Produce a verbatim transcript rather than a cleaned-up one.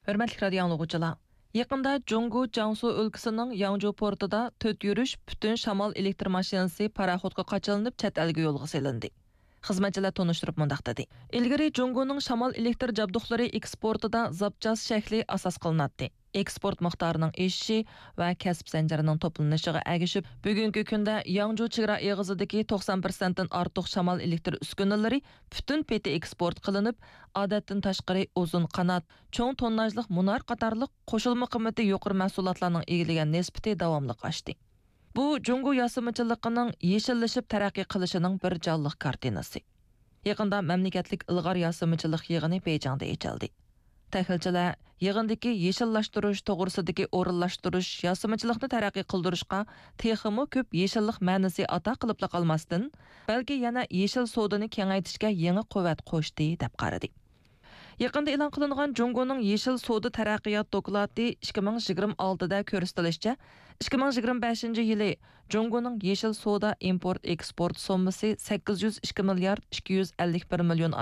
ھۆرمەتلىك رادىيو ئاڭلىغۇچىلار! يېقىندا جۇڭگو جياڭسۇ ئۆلكىسىنىڭ ياڭجۇ پورتىدا تۆت يۈرۈش پۈتۈن شامال ئېلېكتر ماشىنىسى پاراخوتقا قاچىلىنىپ چەت ئەلگە يولغا سېلىندى. خىزمەتچىلەر تونۇشتۇرۇپ مۇنداق دېدى: ئىلگىرى جۇڭگونىڭ شامال ئېلېكتر جابدۇقلىرى ئېكسپورتىدا زاپچاس شەكلى ئاساس قىلىناتتى. ئېكسپورت مىقدارىنىڭ ئېشىشى ۋە كەسىپ زەنجىرىنىڭ توپلىنىشىغا ئەگىشىپ، بۈگۈنكى كۈندە ياڭجۇ چېگرا ئېغىزىدىكى توقسان پىرسەنتتىن ئارتۇق شامال ئېلېكتر ئۈسكۈنىلىرى پۈتۈن پېتى ئېكسپورت قىلىنىپ، ئادەتتىن تاشقىرى ئۇزۇن قانات، چوڭ تونناژلىق مۇنار قاتارلىق قوشۇلما قىممىتى يۇقىرى مەھسۇلاتلارنىڭ ئىگىلىگەن نىسبىتى داۋاملىق ئاشتى. بۇ جۇڭگو ياسىمىچىلىقىنىڭ يېشىللىشىپ تەرەققىي قىلىشىنىڭ بىر جانلىق كارتىنىسى. يېقىندا مەملىكەتلىك ئىلغار ياسىمىچىلىق يىغىنى بېيجىڭدا ئېچىلدى. تەھلىلچىلەر يىغىندىكى يېشىللاشتۇرۇش توغرىسىدىكى ئورۇنلاشتۇرۇش ياسىمىچىلىقنى تەرەققىي قىلدۇرۇشقا تېخىمۇ كۆپ يېشىللىق مەنىسى ئاتا قىلىپلا قالماستىن، بەلكى يەنە يېشىل سودىنى كېڭەيتىشكە يېڭى قۇۋۋەت قوشتى، دەپ قارىدى. يېقىندا ئېلان قىلىنغان جۇڭگونىڭ يېشىل سودا تەرەققىيات دوكلاتى ئىككى مىڭ يىگىرمە ئالتىدە كۆرسىتىلىشىچە، ئىككى مىڭ يىگىرمە بەشىنچى يىلى جۇڭگونىڭ يېشىل سودا ئىمپورت ئېكسپورت سوممىسى سەككىز يۈز ئىككى مىليارد ئىككى يۈز ئەللىك بىر مىليون